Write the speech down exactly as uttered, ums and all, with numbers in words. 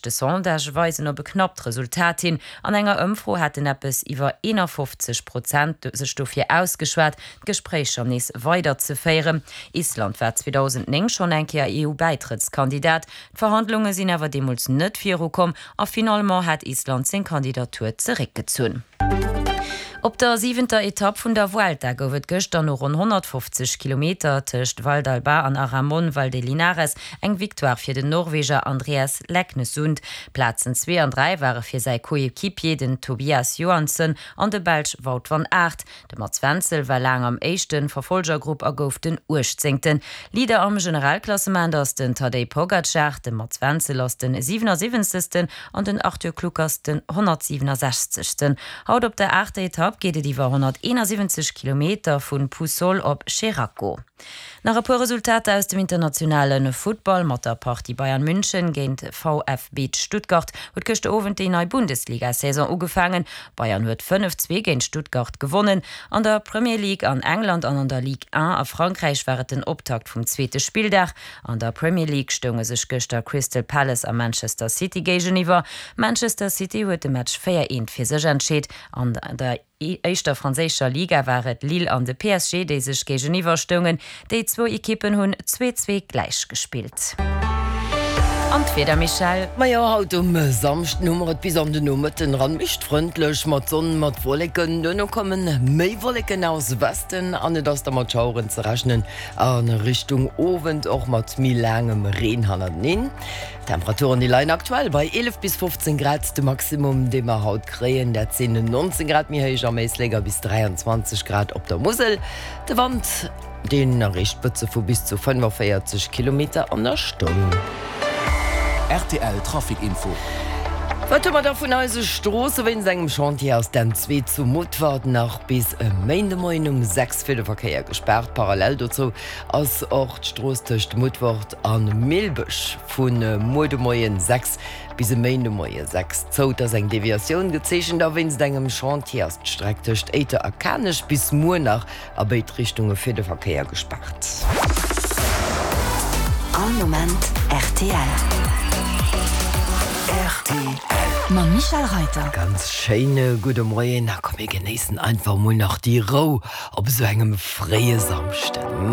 leschte Sondagë weisen op e knappt Resultat hin. An enger Ëmfro hätten eppes iwwer eenafofzeg Prozent sech dofir ausgeschwat, d'Gespréicher nees weiderzeféieren. Island war zweedausendnéng schonn eng Kéier E U-Bäitrëttskandidat. D'Verhandlunge sinn awer deemools net virukomm a finalement hat Island seng Kandidatur zeréckgezunn. Op der siwenter Etapp vun der Vuelta gouf et gëschter no ronn honnertfofzeg Kilometer tëscht Valdalba an Aramon Valdelinares eng Victoire fir den Norweger Andreas Leknessund. Plazen zwee an dräi ware fir säi Coéquipier, den Tobias Johansson an de Belsch Wout van Aert. De Mats Wenzel war laang am éischte Verfolgergrupp a gouf den Uechtzéngten. Leader am Generalklassement ass den Tadej Pogacar, de Mats Wenzel ass den siwenasiwwenzegsten an den Arthur Kluckers den honnertsiwenasechzegsten. Haut op der aachter Etapp geet et iwwer honnerteenasiwwenzeg Kilometer vu Puçol op Xeraco. Nach e puer Resultater aus dem internationale Futtball, Mat der Partie Bayern München géint V F B Stuttgart huet gëschter Owend déi nei Bundesliga-Saison ugefaangen. Bayern huet fënnef, zwee géint Stuttgart gewonnen. An der Premier League an England an an der Ligue eent a Frankräich war et den Optakt vum zweete Spilldag. An der Premier League stounge sech gëschter Crystal Palace a Manchester City géigeniwwer. Manchester City huet de Match véier, eent fir sech entscheet. An der éischter franséischer Liga war et Lille an de P S G, déi sech géigeniwwer stoungen. Déi zwou Ekippen hunn zwee, zwee gläich gespillt. An d'Wieder, Michèle? Majo, haut um Samschden hu mer et bis an den Nomëtten eran liicht frëndlech mat Sonn, mat Wolleken. Duerno komme méi Wolleken aus Westen an et ass da mat Schaueren ze rechnen a Richtung Owend och mat méi laangem Reen hannerteneen. D'Temperaturen déi leien aktuell bei eelef bis fofzéng Grad, de Maximum dee mer haut kréien dat sinn nonzéng Grad méi héich am Éislek a bis dräianzwanzeg Grad op der Musel. De Wand deen erreecht Spëtze vu bis zu fënnefenvéierzeg Kilometer an der Stonn. R T L Trafic Info. Wat hu mer da vun eise Stroosse? Wéinst engem Chantier ass d'N zwee zu Mutfert nach bis e Méindemoien um sechs fir de Verkéier gespaart. Parallel dozou ass och d'Strooss tëscht Mutfert a Millbech vu muer de Moien sechs bis e Méindemoie sechs zou. Et ass eng Deviatioun gezeechent a wéinst engem Chantier ass d'Streck tëscht Éiter a Kanech bis muer nach a béid Richtunge fir de Verkéier gespaart. All Moment R T L. R T L. Mam Michèle Reiter. Ganz schéine gudde Moien. Na komm, mir genéissen einfach mol nach déi Rou op esou engem fréie Samschden.